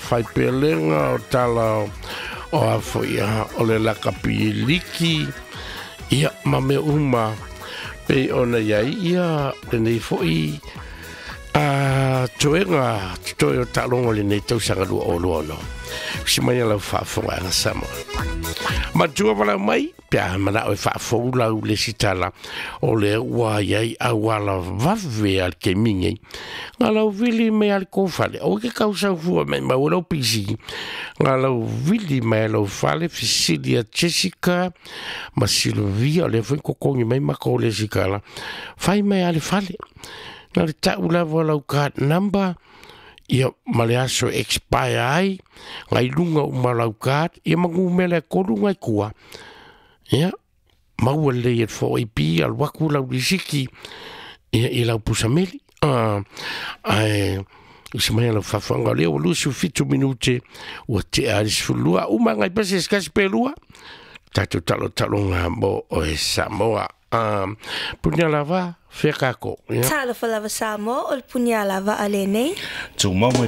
faipelega, o tala o a foi o le lakapi liki, ia ma mea uma pei ona iai ia lenei foi a toega totoe o taaloga o lenei tausaga 2026. Si mai lau faafofogaaga Samoa. Matua valau mai pe a manao e faafou lau lesitala, o lea ua iai auala vave a le taimi nei. Na lau vili mai a le kou fale, o ke kau saufua mai mau lau PC. Na lau vili mai lau fale fesili a Jessica ma Silvia, o lea foi kokogi mai ma kou lesikala. Fai mai a le fale. Na le tau lava lau card number, ia ma le aso expire ai, ngai lunga uma lau card, ia ma numera e 3 ngai kua. Ia, maua lelei e le 4AP, alu aku lau lisiki, ia i lau pusameli. Ae, usa mai lau faafofooga, o lea ua 27 minute, ua tea ai le 12, uma ngai pese se kasi pe lua, tatou talotaloga mo oe Samoa. Punia lava, fea kako. Ia. Talofa lava Samoa, o le punia lava a lenei. Tumau mai.